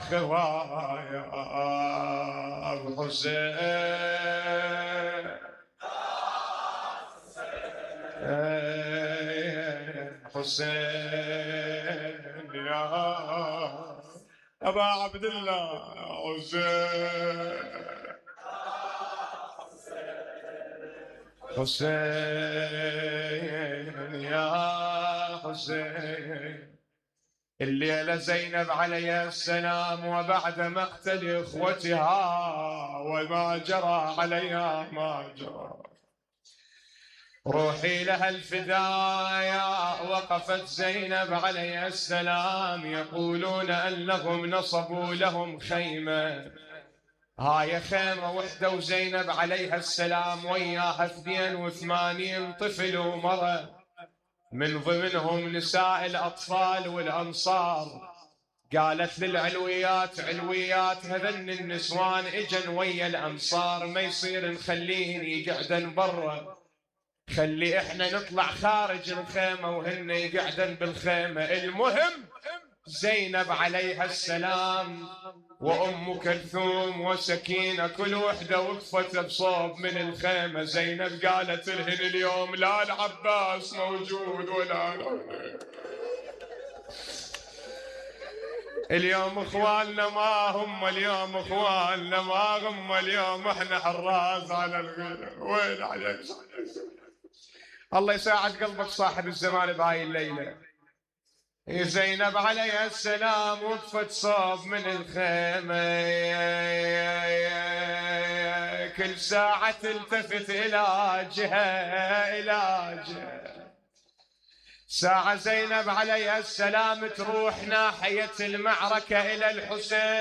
خوايا ابو حسين حسين يا ابا عبد الله حسين يا حسين. الليلة زينب عليها السلام وبعد مقتل إخوتها وما جرى عليها ما جرى، روحي لها الفدايا. وقفت زينب عليها السلام، يقولون أنهم نصبوا لهم خيمة، هاي خيمة وحدة وزينب عليها السلام وياها 82 طفل ومرأة، من ضمنهم نساء الأطفال والأنصار. قالت للعلويات علويات هذن النسوان اجن ويا الأنصار، ما يصير نخليهن يقعدن برا، خلي احنا نطلع خارج الخيمة وهن يقعدن بالخيمة. المهم زينب عليها السلام وأم كلثوم وسكينة كل وحدة وقفت بصوب من الخيمة. زينب قالت لهن اليوم لا العباس موجود ولا اليوم اخواننا ما هم، اليوم اخواننا ما هم، اليوم احنا حراس على الغير. وين عليك؟ الله يساعد قلبك صاحب الزمان بهاي الليلة. زينب عليها السلام وقفت صوب من الخيمة، كل ساعة تلتفت إلى جهة ساعة زينب عليها السلام تروح ناحية المعركة إلى الحسين.